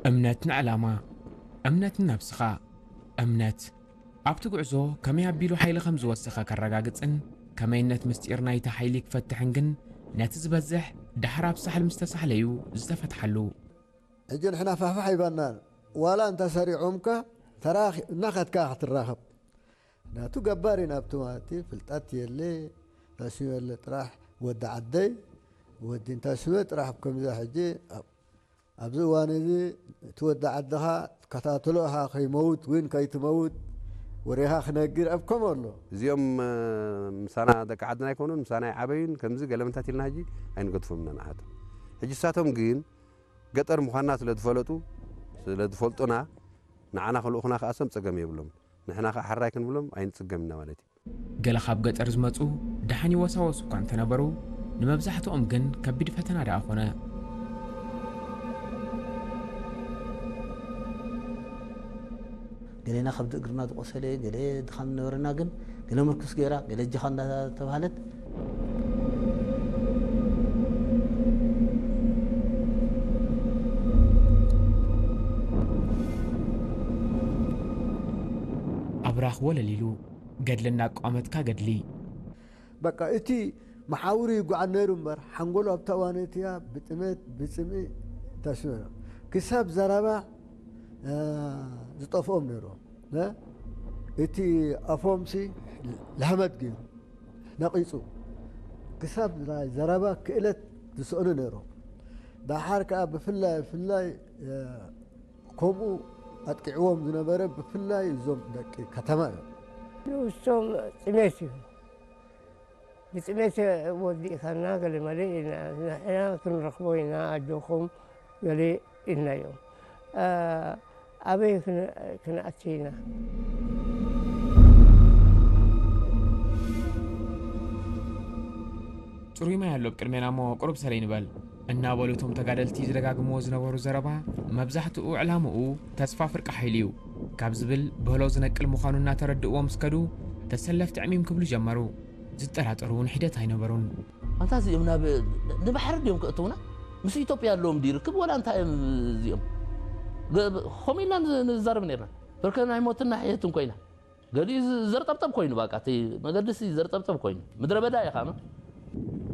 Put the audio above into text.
እምነት ንዕላማ፣ እምነት ንነብስኻ፣ እምነት ኣብቲ ጉዕዞ ከመይ ኣቢሉ ሓይሊ ከም ዝወሰኸ ከረጋግጽን ከመይነት ምስጢር ናይቲ ሓይሊ ክፈትሕን ግን ነቲ ዝበዝሕ ዳሕር ኣብ ሳሕል ምስ ተሳሕለዩ ዝተፈትሓሉ። ሕጂ ንሕና ፋሕፋሕ ይባናን ዋላ እንተ ሰሪዖምካ ተራኺ እናኸድካ ክትራኸብ ናቱ ገባር ኢና ኣብቲ ማለት እዩ። ፍልጠት የለ ታስበ የለ ጥራሕ ወዲ ዓደይ ወዲ እንታስበ ጥራሕ ኣብ ከምዛ ሕጂ ኣብ- ኣብዚ እዋን እዚ እቲ ወዲ ዓድኻ ትከታተሎ ኢኻ ከይመውት ወይን ከይትመውት ወሬኻ ክነግር ኣብ ከምኡ ኣሎ። እዚኦም ምሳና ደቂ ዓድና ኣይኮኑን ምሳና ይዓበዩን ከምዚ ገለመንታት ኢልና ሕጂ ኣይንገድፎም ኢና ንዓቶም። ሕጂ እሳቶም ግን ገጠር ምዃንና ስለ ዝፈለጡ ስለ ዝፈልጡና ንዓና ክልኡኹና ክኣሶም ጸገም የብሎም። ንሕና ከዓ ሕራይ ክንብሎም ኣይንጽገም ኢና ማለት እዩ። ገለ ካብ ገጠር ዝመጹ ደሓን ይወሳወሱ እኳ እንተነበሩ፣ ንመብዛሕትኦም ግን ከቢድ ፈተና ደኣ ኾነ። ገሌና ከብዲ እግርና ዝቆሰለ፣ ገለ ድኻም ዝነበረና ግን ገለ ምርኩስ ገይራ፣ ገለ እጃኻ እንዳተባህለት ኣብራኽ ወለል ኢሉ ገድሊ እናቋመትካ ገድሊ። በቃ እቲ መሓውሩ ይጓዓዝ ነይሩ እምበር ሓንጎሉ ኣብታ እዋን እቲያ ብጥሜት ብፅምኢ ተስበረ ክሳብ ዘረባ ዝጠፍኦም ነይሩ። እቲ ኣፎምሲ ለህመት ገይሩ ነቒፁ ክሳብ ናይ ዘረባ ክእለት ዝስእኑ ነይሮም። ደሓር ከዓ ብፍላይ ብፍላይ ከምኡ ኣጥቂዕዎም ዝነበረ ብፍላይ እዞም ደቂ ከተማ እዮም። ንሶም ጥሜት እዩ። ብጥሜት ወዲእካና ገለ መለ ኢና ንሕና ክንረኽቦ ኢና ኣጆኹም ገለ ኢልናዮም። ኣበይ ክንኣቲ ኢና? ጽሩይ ማይ ኣሎ ኣብ ቅድሜና እሞ ቁሩብ ሰለይ ንበል እናበሉ እቶም ተጋደልቲ ዝደጋግምዎ ዝነበሩ ዘረባ መብዛሕትኡ ዕላምኡ ተስፋ ፍርቂ ሓይሊ እዩ ካብ ዝብል በሎ ዝነቅል ምዃኑ እናተረድእዎም ስከዱ ተሰለፍቲ ዕሚም ክብሉ ጀመሩ። ዝጠራጠሩ እውን ሒደት ኣይነበሩን። ኣንታ እዚኦም ናብ ንባሕሪ ድዮም ክእትውና? ምስ ኢትዮጵያ ኣለዎም ድዩ ርክብ ወላ እንታይ እዮም እዚኦም? ከምኡ ኢልና ንዛረብ ነርና። በርከ ናይ ሞትና ሕየትን ኮይና ገሊኡ ዘርጠብጠብ ኮይኑ በቃ እቲ መገድሲ ዘርጠብጠብ ኮይኑ ምድረ በዳ ኢኻ